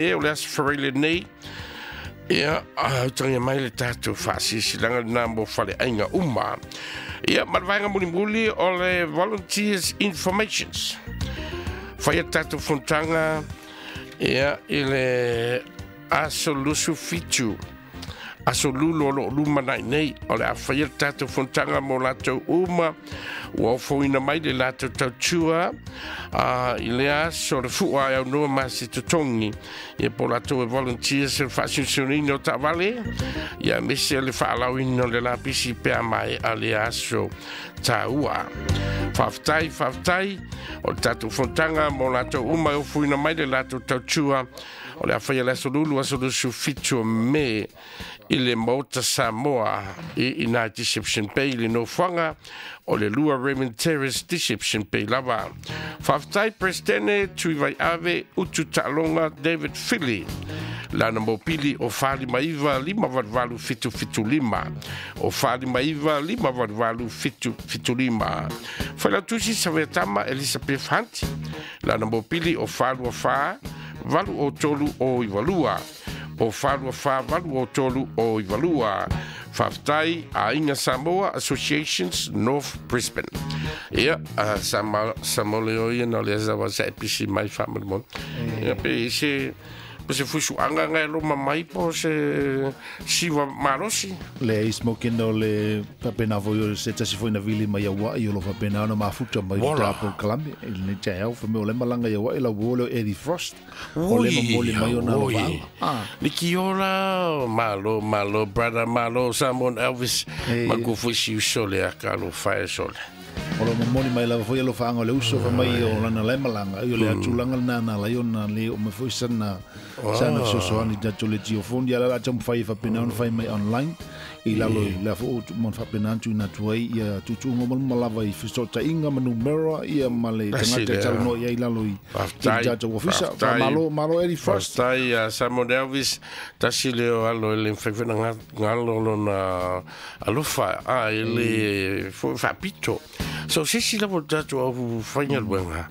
E o le aso Faraile lenei, ia, utagia mai le tatou faasilasilaga lena mo faleaiga uma. Ia, ma le vaega mulimuli o le Volunteers Informations. Faia tatou fonotaga, ia, i le aso 27 aso Lulu o loo lumanai nei, o le a faia le tatou fonotaga mo latou uma ua ofoina mai le latou tautua i le aso le fua e aunoa ma se totogi, ia po latou e volunteers le faasiosionaina o taavale, ia aemaise le faalauina o le lapisi pe a maea le aso taua. Faafetai, faafetai. O le tatou fonotaga mo latou uma e ofoina mai le latou tautua o le a faia le aso Lulu, aso 27 o Me, i le Maota Samoa i ina i Deception Bay, le nofoaga o le 2 Raymond Terrace, Deception Bay lava. Faafetai Presidente Tuivai Ave Utu Taaloga David Philly. Lana mopili o 459 588 775. O 459 588 775. Failautusi Saveatama Elizabeth Hunt. Lana mopili o 424 803 o 92. O 424 803 o 92. Faafetai Aiga Samoa Associations North Brisbane. Ia, sa mo le o ia na o le asa wa sa e pisi mai whaamalimon. Ia, pe se po se fusuanga ngai lo mamai po se siwa malosi. Le smoking o le faapena foi o se tasi foi na vili mai Aua'i o lo faapena ona mafuta mai Vola. Ta polokalame i lenei taeao fa mea o le malaga i Aua'i lau uo lea o Eddie Frost o le momoli mai ona alofaaga. Ah. Nikiola, malo, malo, brother, malo, Simon Elvis, ma ku foi si usole a ka lo fae sole. O lo momoli mai lava foi alofaaga o le uso fa mai o lana le malaga i o le atulaga lena na lai ona le o mai foi sana fesoasoani tatou le jiofoni ia la la taumafai e faapena ona fai mai online i lalo i le fo mo faapena atu ina atu ai ia tuutuuga uma lava i fesootaiga ma numera ia ma le Tasi tagata e lea. talanoa i ai lalo i Faafetai, tatou ofisa. faafetai. Malo, malo Eddie Frost. Faafetai a Simon Elvis, tasi leo alo e le mawhaiwhena ngalo lona alofa a e le fo faapito. So se si lava o tatou au whaingaluega,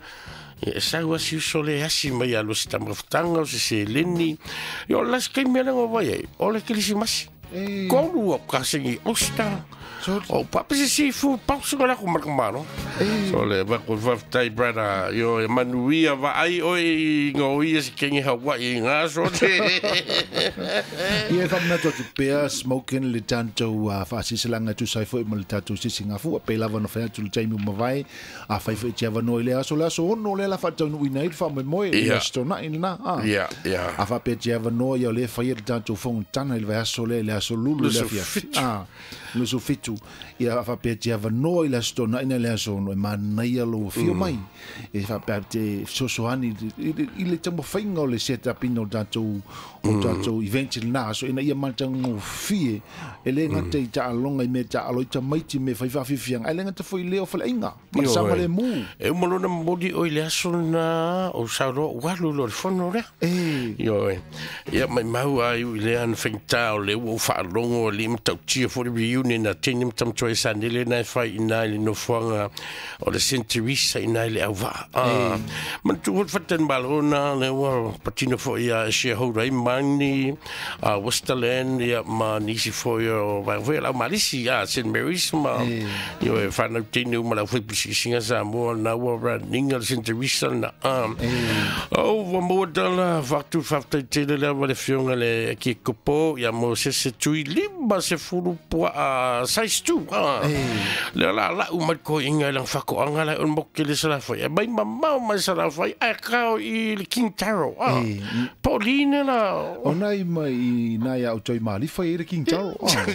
e sau asi uso le asi mai alo se tamafutanga o se seleni. Ia o las kai mea lengo vai ai, o le kilisimasi. Kolu o kasengi osta. O pape se si fu pausu ngala ku marka. So le va ku faafetai brother yo e manuia va ai oi i ngā ia se kenge Hawaii ngā so te. Ia e faamanatu atu pea smoking le tatou faasilasilaga e tusa ai foi ma le tatou sisigafua pe lava na fai atu le taimi ua mavae a fai foi te avanoa i le aso 6 lea la faataunuuina ai le faamoemoe i le aso Tona'i lena a. Ia. A faapea te avanoa ia o lea faia le tatou fonotaga i le vaiaso lea i le aso Lulu le Lusu afiafi. 7. Ah, 27. Ia a faapea te avanoa i le aso Tona'i na le aso 6 e manaia lou afio mai. E faapea te fesoasoani i le taumafaiga o le set up ina o tatou event i lena aso ina ia matagofie e le gata i taaloga i mea taalo i tamaiti me fai faafiafiaga ae le gata foi i leo faleaiga ma le saogalemu. E uma lona momoli oi le aso na o sauroa ualu lo le fono lea. Ioe. Ia mai mau ai i le ana whaingtā o le ua o whaalongo o le matautia fo le reunion a tēne matamatoa e sa nele na e whai ina i le nofoanga o le St. Teresa ina i le auvaa. Ah, manatu hol whatan malona le ua patino fo ia shareholder i mani, a Westerland, ia ma nisi fo ia o vai foi lau malisi a St. Mary's ma io e whanau tēne uma lau fai pusikisinga Samoa na ua raninga le St. Teresa na. Ah. O ua maua tala whatu whaftai tele lea wa le fionga le ki kopo ia mo se se tui lima se fulu pua a size 2. Ah. Le la la u mai ko inga lang whako anga la un moke le salafai. E mai mamau mai salafai ai kao i le King Taro. Ah. Pauline la. O nai mai i nai au toi malifa i le King Taro. Ah.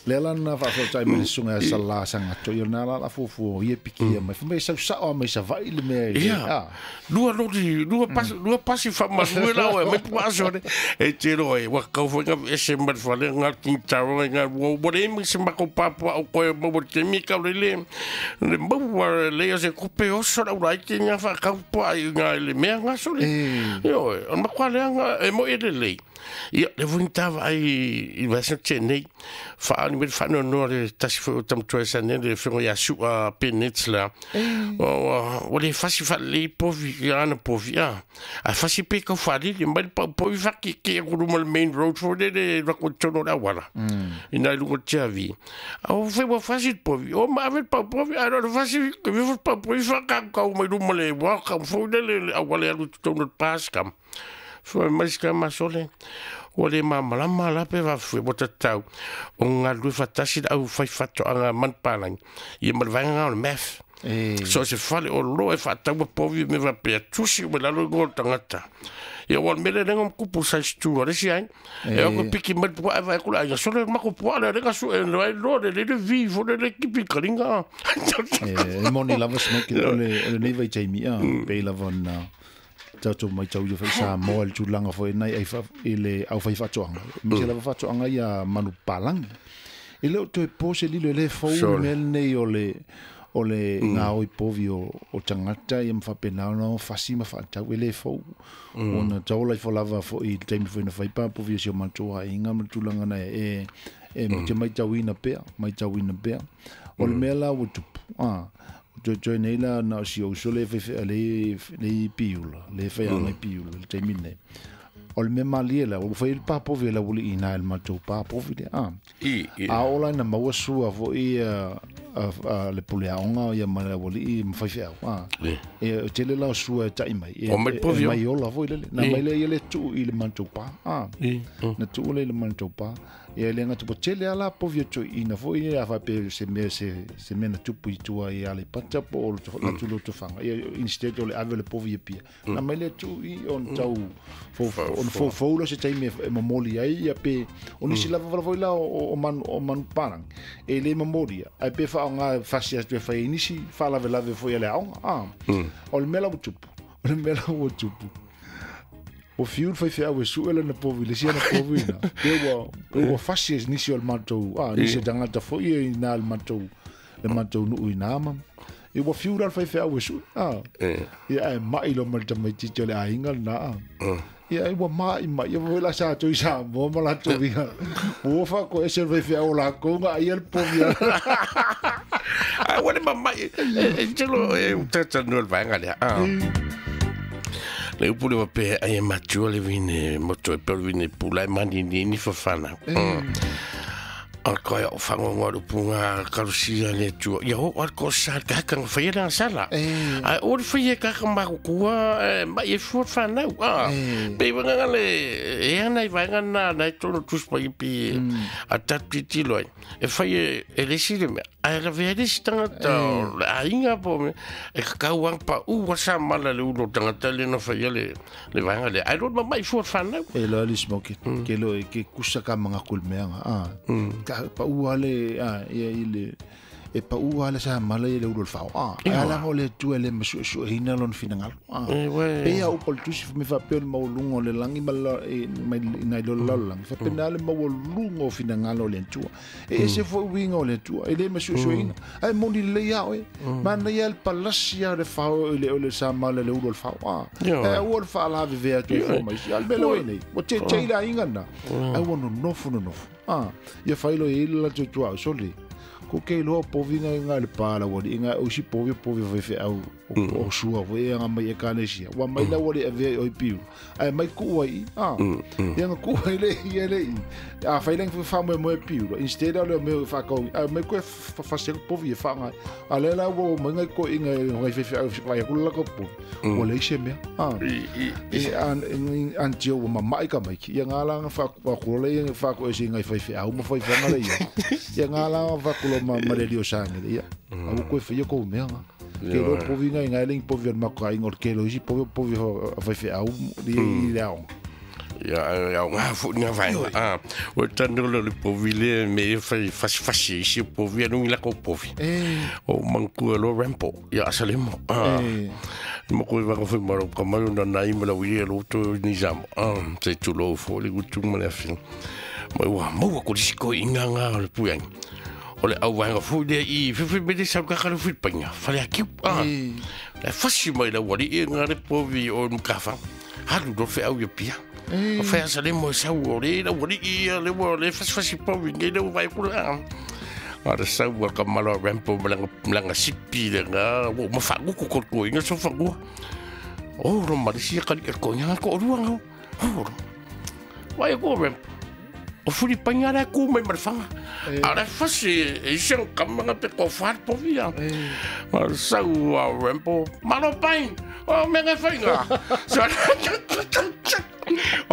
Le la na faafautai mai le susuga ia Salā Sagato ia na la la fuafua ia pikia mai fa mai sausao mai Savaii le mea i Ia. Ah. Lua lori, lua pasi, lua pasi whamalue lau e mai pua aso ne. E te roa e wakau fo ngā ese mai whale ngā King Taro e ngā ua ua le mi se mako papua o koe maua te mi kau le le. Le maua le o se kupe oso lau lai te ngā whakau pua i ngā le mea ngā so le. Io e, o makua le anga e mo e le lei. Ia, le foi ni tāvaai i vaiaso na tea nei, faaali mai le faanoanoa le tasi foi o tamatua e sa nei le afioga ia Su'a Bennett la. Ua le fasi faalelei povi ia ana povi a. Ae fasi pe kau faalili mai le pau povi faakiekie atu luma le main road foi lele alu atu i totonu o le auala. Ina i luga o le tiavi. A ua fai ua fasi le povi, o ma ave le pau povi, ae na o le fasi, e foi le pau povi faakaukau mai luma le welcome foi lele le auala e alu i totonu o le pass kam. Fai mai si tama sole, ua le malamalama la pe faafefea ua tatau ona galulue faatasi le au fai faatoaga manupapalagi ia ma le vaega lena o le MAF. So o se fale oloa e faataua povi ma mea faapea, tusi uma i lalo igoa o le tagata. Ia aua o le mea lea lea na tupu size 2 a le isi aiga. E o atu piki mai le puaa e vaai atu le aiga, sole le matou puaa lea lea na sue ai loa le le vi foi lele kipi i kaliga. E moni lava Smokey o lenei vaitaimi pei lava ona tatou matau ia foi Samoa i le tulaga foi nai ai i le au fai faatoaga aemaise lava faatoaga ia manupapalagi. E le o toe po se lilo e le fou le mea lenei o le o le gaoi povi o tagata ia ma faapena ona fasi ma faatau e le fou. Ona taola ifo lava foi i le taimi foi na fai pa povi o si o matou aiga ma le tulaga na e e te matauina pea, matauina pea. O le mea la ua tupu, toe nei la na o si ou uso le fai le le piula, le fai ai piula le taimi nei. O le mea malie la, ua fai le papovi la uli ina le matou papovi le a. A ola na maua sua foi a le pule aoga ia ma le aualii ma faifeau a. E tele la o sua e tai mai. E mai ola foi lele. Na mai le ia le tuu i le matou pa a. Na tuu le i le matou pa. Ia le gata ua tele lava la povi o toeaiina foi ia a faapea se mea se mea na tupu i tua i Aleipata po o atu Lotofaga. Ia instead o le ave o le povi i Apia, na mai lea tuu i ona tau ona foufou lea o se taimi e momoli ai ia pe o nisi lava vala foi la o manu o manupapalagi e le momolia ae pe faaaoga e fasi atu e fai ai nisi faalavelave foi a le aoga. O le mea la ua tupu, o le mea la ua tupu, ua fiu le faifeau e sue lana povi i le isi ana povi ina. Pe ua, pe ua fasi e nisi o le matou, nisi o tagata foi e ina le matou, le matou nuu ina ma. E ua fiu la le faifeau e sue, Ia ae mai loa ma le tamaitiiti o le aiga lena, Ia ai ua mai mai, ia foi la sa atu i Samoa ma latou ia. Ua faakoese le faifeau o lakou na aia le povi a. Ae ua le mamai, e telo e utatanoa le vaega lea. Le upu le wapea ai e matua le vine moto e peo le vine pula e manini ni whawhana. O le koe o whangongo le upu ngā karusia le atua. Ia ho al ko sa ka haka nga whaia nga sala. Ai o le whaia ka haka makukua mai e fua whanau. Pe wanga nga le e ana i vaenga na na e tono tuspa i pi a tatu tilo ai. E whaia e le si le mea. Ae lavea ai le isi tagata o le aiga po o mea, e kakau lava pau a sa mala le ulu o le tagata lea na faia le le vaega lea. Ae loa le mamai fua le fanau. E loa le smoke, ke lo ke kusa ka manga ku le mea nga. Ka pau a le ia i le e pau a le sa mala i le ulu o le fao. Ae ala o le Atua e le masuesueina lona finagalo. Pei a upu o le tusi me faapea o le maualuga o le lagi ma le mai nai lo le lalolagi. Faapena le maualuga o finagalo o le Atua. E ese foi uiga o le Atua, e le masuesueina. Ae moni lelei a oe. Manaia le palasi a le fao i le o le sa mala le ulu o le fao. Ae aua le faalavevea atu e fua mai isi. A le mea lea ua i nei, ua tetei le aiga lena. Ae ua nonofo nonofo. Ia fai loa i ai le latou tuaoi sole. Ko ke iloa povi nga nga le pa la wali nga o si povi povi fai fe au o sua foi e nga mai ekalesia wa mai la wali avea i oi piu ai mai ku ai a ia nga ku ai le ia le a fai leng fa mo mo piu instead o le me fa ko a mai ko fa se povi e fa nga a le la wo mai nga ko inga ngai fe fe au vai ku la ko po o le se me a e an an tio ma mai ka mai ia nga la fa ko le fa ko e se ngai fai fe au ma fai fa nga le ia ia nga la fa ko ma ma le lio sange ia au ko fe ia ko mea nga ke lo povi ngai ngai leng povi al mako ai ngor ke lo isi povi povi fai fe au i le ao ia ia nga fu nga vai a o tanu le povi le me fai fasi fasi isi povi anu la ko povi o manku lo rampo ia salemo a mo ko va ko fai maro ka mai na nai ma la wi lo to ni jam a se tu lo fo le gutu ma le fi mo wa mo ko isi ko inga nga le puang o le au vaega foi lea i fefe me le sau kaka le filipaina fale akiu a le fasi mai la wali e nga le povi o mkafa halu do fe au ia pia O fai asa le mo sau o le la wali ia le wa le fasi fasi povi ngai le vai kula. A le sau a ka malo Rampo malanga sipi le nga wo ma fa ku ko ko inga so fa ku. O ro ma si ka ko nga ko ru nga. O. Vai ko Rampo. O furi painga la ku mai marfanga. A le fasi e se kamanga pe ko far povi a. Ma sau a Rampo malo pain. O me nga fainga. So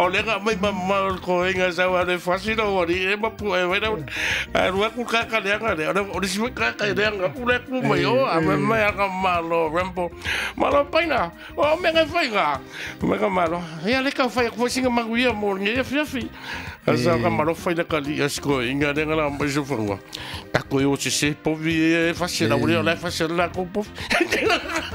o le nga mai ma ko inga sau a le fasi no ori e ma pu e vai a rua ku ka ka le nga le o le si ka ka le nga ku le ku mai o a me mai a ka malo Rampo malo paina o me nga fainga me ka malo ia le ka fai ko singa manguia mo nge fi fi a sa ka malo fai le ka li asko inga le nga la mai so fanga ta ko yo se se povi e fasi la uri la fasi la ko povi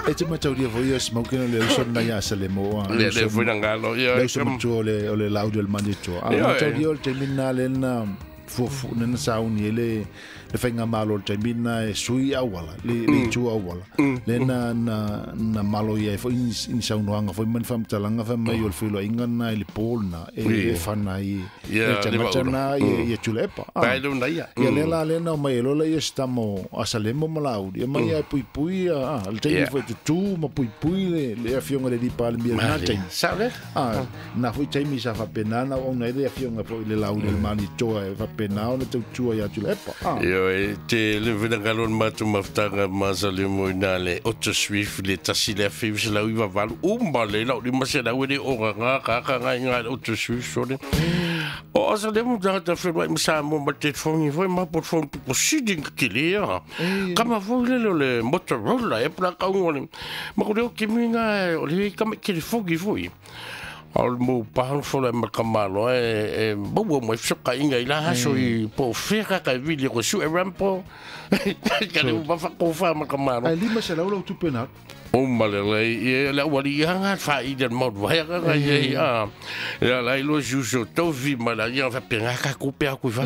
e te matauria foi o smoking le uso na ya se le mo le le foi na ngalo ia o le laudio el manito. A matauria o le taimi le na fufu nana sauni le le fainga malo le taimi na e sui auala le le tu auala le na na na malo ia foi in saunoanga foi man fam talanga fa mai o le filo inga na le pol na e fana i e tana i tulepa pai lo na ia ia le la le na mai lo le estamo asalemo malauri e mai e pui pui a le taimi foi tu ma pui pui le le afionga le di palmia na taimi sabe a na foi taimi sa fa penana o na le afionga foi le lauri le mani toa e fa penao na tautua ia tulepa Io e te le vena matu maftanga masalemo ina le Otto Swift le tasi le afi se la uiva valu umba le la uli masela ue o nga ka ka nga nga Otto Swift sone o asa le mo ta fe mai sa mo ma te fongi foi ma por fon po siding kilea kama foi le le Motorola e pla ka ngone ma ko le kimi nga o le kama ki fongi foi o mo pahan fola ma kamalo e bo mo fsoka inga ila haso i po fera ka vili ko su e Rampo ka le ba fa ko fa ma kamalo ai lima se laula tu pena o malele e la wali hanga fa i del mod va ga ye a ya la ilo juso to vi mala ya fa penga ka ku pe ku fa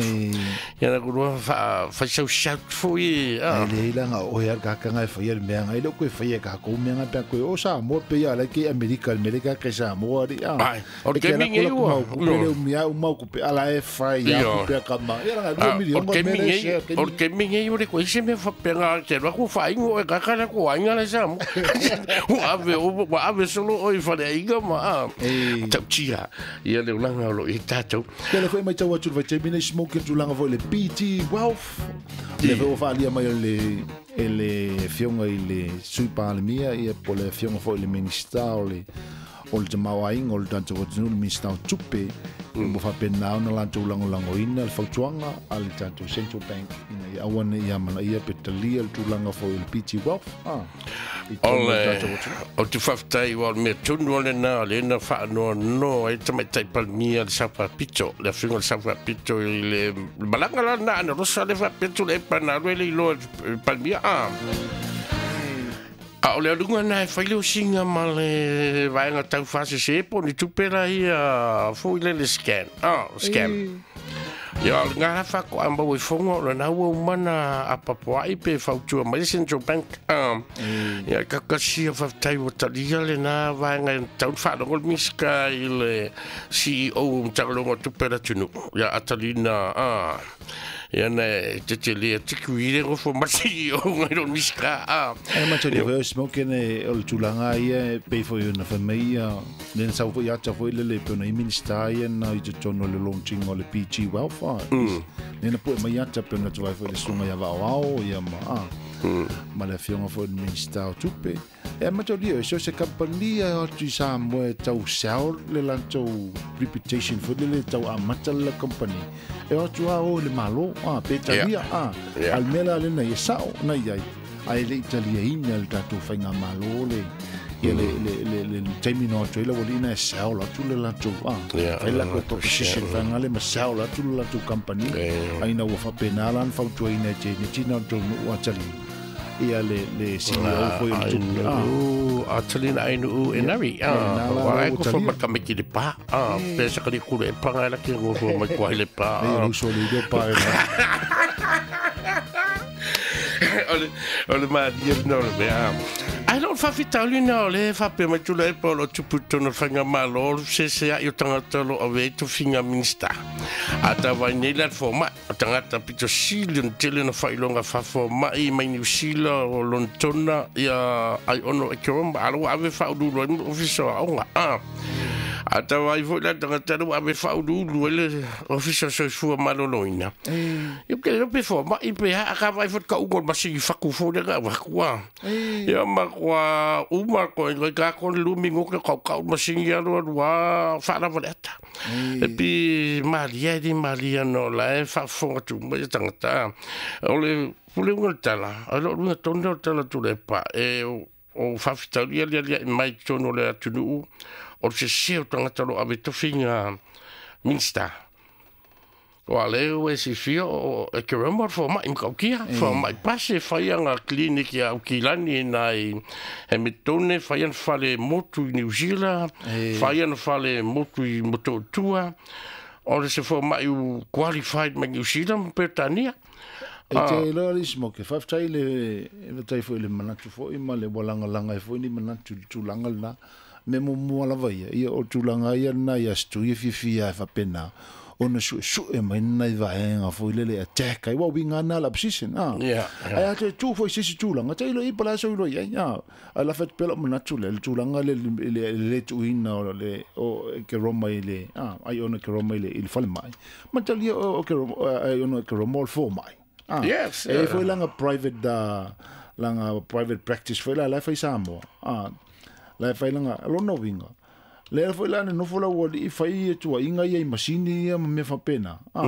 ya na ku fa fa so shout fo ye a le ila nga o ya ka ka nga fa ye me nga ile ku fa ye ka ku me nga pe ku o sa mo pe ya la ke Amerika Amerika ke sa mo ari a o ke mi nge o le o mi a o mau ku pe ala e fa ya ku pe ka ma ya nga do mi o ke mi nge o ke mi nge o le ku se me fa pe nga te ro ku fa ingo e ka ka ku nga le sa mo o ave solo oi fa le inga ma tau ia le ulanga lo i tātou. Ia le foi mai tau atu le vai nei smoke tulaga foi le PT Wealth. Le foi faaalia mai o le e le fionga i le sui palemia ia po le fionga foi le minista o le tamaoaiga o le tatou atunuu le minista o tupe mo faapena ona latou lagolagoina le fautuaga a le tatou Central Bank ina ia aua nei amanaia pe talia le tulaga foi o le PT Wealth o te faafetai ua o le mea tonu o lena o lena faanoanoa ai tamaitai palemia le saofapito le afioga le saofapito i le malaga lana ana rosa le faapito le epa na alu ai le iloa palemia a o le aluga na e faile o singa ma le vaega taufasese po ni tupe la ia foi le le scan. Scam. Ia o ngā whako a mau e fonga o lana ua umana a papoai pe fautua mai Central Bank. Ia kakasia whaftai o talia le nā vaega taun whaalongo le miska i le CEO o mtakalongo tupe la tunu. Ia atalina ia na te te lea tiku i le ngofo masi o ngai ro miska e ma te leo smoke ne o le tulaga ia pe foi na fa mai ia le sa foi ata foi le le pe na minista ia na i te tono le launching o le PG Welfare le na po mai ata pe na tu vai foi le sunga ia vao ia ma ma le fionga foi le minista o tupe e ma te leo so se company o tu sa mo tau sell le lanto reputation foi le tau amata le company e o tu o le malo pe talia al mela le na sao na ia ai le italia ina le tatou fainga malo le ia le le le taimi no tu le volina sao la tu le la tu fai la ko proposition fanga le sao la tu la tu company ai na ua faapena la fautua ina te ni tina tu no atali ia le le CEO foi o tu atalina ai nu enari wa ko fo ma kamiki le pa pe sa kali kule panga la ki ngo fo ma ko le pa e ruso le do pa ole ole ma dia no le ai don't faafitauli na o le faapea mai Tuilaepa o lo o tupu i totonu o le faigamalo o le fesesea'i o tagata o lo o avea ai tofiga Minista. A tauvaai nei la le fomai, o tagata pito sili ona tele ona faailoga faafomai mai Niu Sila o Lonetona ia Aiono Ekeroma, a o la ua ave faauluulu ai le Ofisa o Aoga. A tauvaai foi la le tagata lea ua ave faauluulu ai le Ofisa o Soifua Maloloina. Ia ou te le iloa pe fomai pe a, a ka vaai foi i le tauga o le masini fatu foi lea na avatu a. Ia matua uma koe ngai ka ko le lumi ngote kau kau masini alu alu a whaalava le ata. E pi malia e di malia no la e whaafonga tu mai e tangata. O le pule unga le tala, a lo lunga tonu o le tala tu le pa, e o whawhitauri ali ali ai mai tonu o le atunuu, o le sese o tangata lo ave tofinga Minista. Ua le ua e silafia o e ke roma o le fomai ma Kaukia, fomai pasi e fai ana clinic ia Aukilani i na i Hamiltone, fai ana fale motu i New Zealand, fai ana fale motu i Motootua, o le se fomai u qualified mai New Zealand ma Peretania. E te iloa le isi moke, faafetai le, faafetai foi i le manatu foi ma le ua lagalaga ai foi ni manatu i le tulaga lena. Mea muamua lava ia, ia o tulaga ia lena i Aso Tui e fiafia ai faapena ona suesue mai nai vaega foi lele e attack ai, ua uiga ana le opposition, a. Ae a toe tu foi i se isi tulaga, tailo i ai po o le a sou iloa i ai, a. Ae lafo atu pea lou manatu lea, le tulaga lea i le le tuuina o le o Keroma i le, a, ai ona Keroma i le i le falemai, matalia o Keroma, ai ona Keroma o le fomai. A. Yes, E i ai foi lana private, lana private practice foi la, la e fai i Samoa, a. La e fai lana, lona uiga, lea foi la na nofo lau alii fai ia tuuaiga ia i masini ia ma mea faapena. A,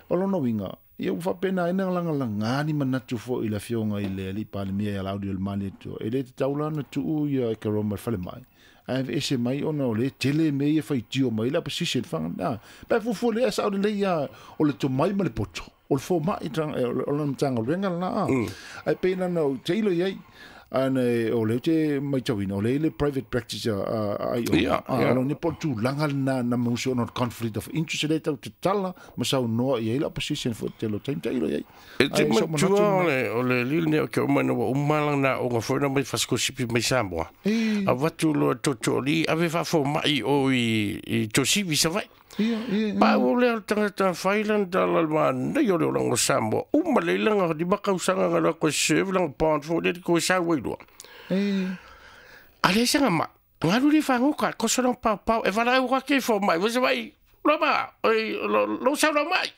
o lona uiga, ia ua faapena ai na lagalaga ni manatu foi i le afioga i le alii Palemia ia Laaulialemalietoa Atua. E le tatau la ona tuu ia Ekeroma i le falemai, ae aveese mai ona o lea e tele mea ia faitio mai ai le opposition whanga. A, pe a fuafua lea, sao lelei ia o le tomai ma le poto, o le fomai, o lana Matagaluega lena. A, ae pei na ona ou tailo i ai, Ana o lea ou te matauina, o lea i le private practice a IO. A lo ni po o le tulaga lena na mausi ona o le conflict of interest lea tau tatala ma saunoa i ai le opposition foi tele o taimi tailo i ai. E te manatua o le alii lenei o Keoma ina ua uma lana aoga foi na mai fasikosipi mai Samoa. Avatu loa tootooalii ave faafomai i o i Tuasivi i Savaii. Pau lea o le tagata fai lana tala i le manaia o le olaga o Samoa. Uma lelei lana 5 tausaga na alu atu e serve lana bond foi lea toe sau ai loa. A leai sana mai, na alu lea i fagota, toso lana paopao, e valaau atu i fomai, foi Savaii, Loma, oi, lou sau lau mai.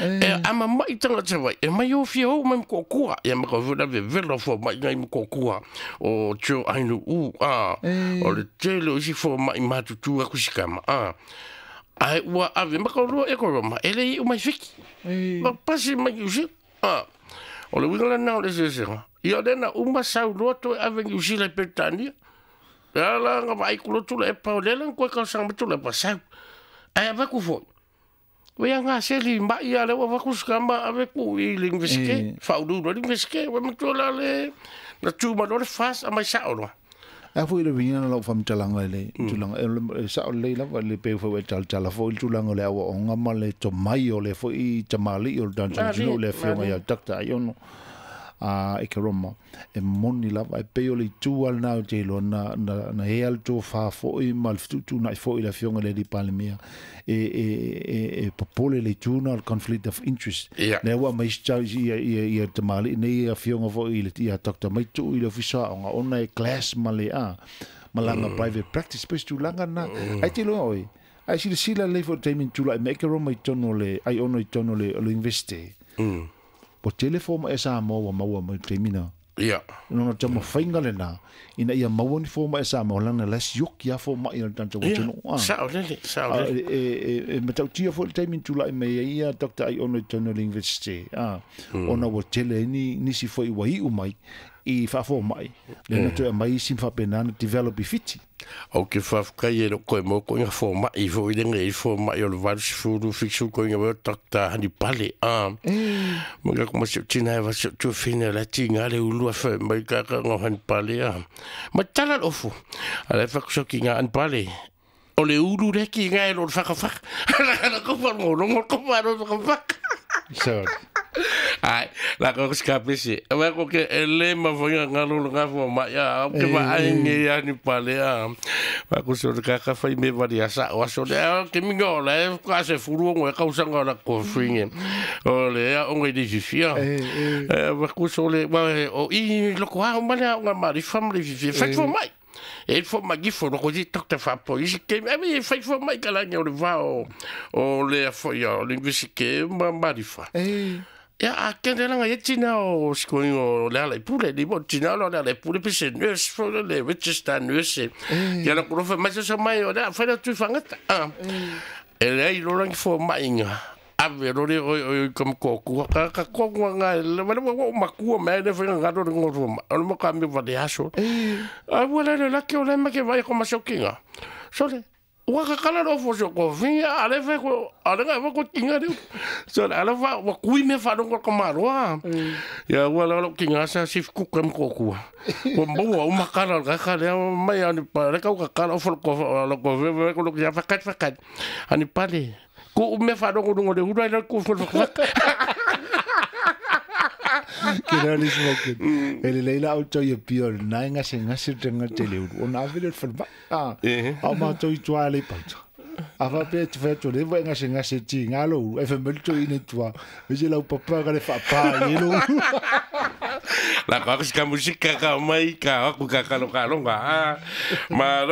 E ama mai tagata Savaii, e mai o fia ou mai Motootua. Ia ma tau foi la vevela o fomai nai Motootua o Joe Ainuu, o le tele o isi fomai matutu atu si tama. Ae ua ave ma ka lua e ko Roma, e le iu mai Fiti. Ma pasi mai New Zealand. O le uiga lena o le eseesega. Ia o lea na uma sau loa toe ave New Zealand i Peretania. E ala na vaai ku lotu le epa o lea la na toe talosaga mai Tuilaepa sau. Ae avatu foi. Ua ia gaseli mai a lea ua avatu si tama ave ku i le Universite, faauluulu ai le Universite. Ua matua la le na tu mai loa le FAST aumai sao loa. A foi le uiga na lau faamatalaga i le tulaga, e sao lelei lava le pei foi ua e talatala foi le tulaga o le aoaoga ma le tomai o le foi tamalii o le tatou atunuu le afioga ia Doctor Aiono. A e Keroma, e moni lava, e pei o le itu lava lena ou te iloa, na, na, na ea le tofa foi ma le fetuutuunai foi i le Afioga i le Alii Palemia, e, e, e, e popole le itu lena o le conflict of interest. Lea ua aumai ia, ia, ia tamalii nei ia Afioga foi i le, ia Doctor Maituu i le Ofisa o Aoga, ona e clash ma le, a, ma lana private practice, pei o se tulaga lena. Ae te iloa oe, ae silasila lelei foi i le taimi na tulai mai ai Keroma i totonu o le, Aiono i totonu o le, o le Universite. Ua tele fomai a Samoa ua maua mai i le taimi na. Lona taumafaiga lena, ina ia maua ni fomai a Samoa, leaga la e sioki lava fomai a le tatou atunuu. Sao lele, sao lele. E matautia foi le taimi na tulai mai ai ia Doctor Aiono i totonu o le Universite, ona ua tele ai nisi foi ua iu mai i faafomai, lea na toe aumai isi ma faapena ona develop i Fiti. Ou te faafetai e lou toe maua koina fomai foi lea i fomai o le 80 70 koina mai o Doctor Hanipale a mo le ma si tina e va si tu fina la tinga le ulu fa mai ka ka ngo Hanipale a ma tala le ofu a le fa so ki nga Hanipale o le ulu le ki nga e lo whakawhaka la ko fa ngo ngo ko fa ro whakawhaka Sorry. Ai, la ko ska pesi. Wa ko ke ele ma fo nga ngalo lo nga fo ma ya, ke ma ai nge ya ni pale a. Wa ko so ka ka fai me vari asa wa so le ke mi ngo le ka se furu ngo ka usa ngo la ko finge. O le ya o ngi di fifia. Wa ko so le wa o i lo ko ha ma le nga ma ri fam le fifia. Fai fo mai. E fo mai fo lo ko di tok te fa po i ke e fai fo mai ka la nge o le va o le fo ya le ke ma ma ri fa. Ya a kende langa ye tina o sikoing o le ala i pule ni mo tina o le ala i pule pise nurse fo le register nurse. Ya la kuro fa mai sa mai o le fa la tu fangata. E le ai lo rangi fo mai nga. Ave lo le o kom ko ku ka ka ko nga le ma mo ma ku me le fa nga ro ngo ro ma. O mo ka mi va de aso. A wala le la ke o le ma ke vai ko ma sokinga. So le Ua ka kala ro fo so ko finga ale fe ko ale ga ko tinga ri. So ale fa wa kui me fa ro ko maroa. Ya ua la lo kinga sa sif ku kam ko ku. Ko mo wa ma kala ga kala mai ani pa le ka ka kala fo ko lo ko ve ko lo ya fa kat fa kat. Ani pale. Ku me fa ro ngo le ura le ku fo fa. Ke na le smoke. Ele leila au toi e pio na nga se nga se tenga tele o na vele fa a a ma toi tua le pauta. A fa pe te fa to le nga se nga se ti nga lo e fa mel toi ne tua. Me je la papa ga le fa pa le lo. La ka ka musika ka mai ka ku ka ka lo ka lo ma.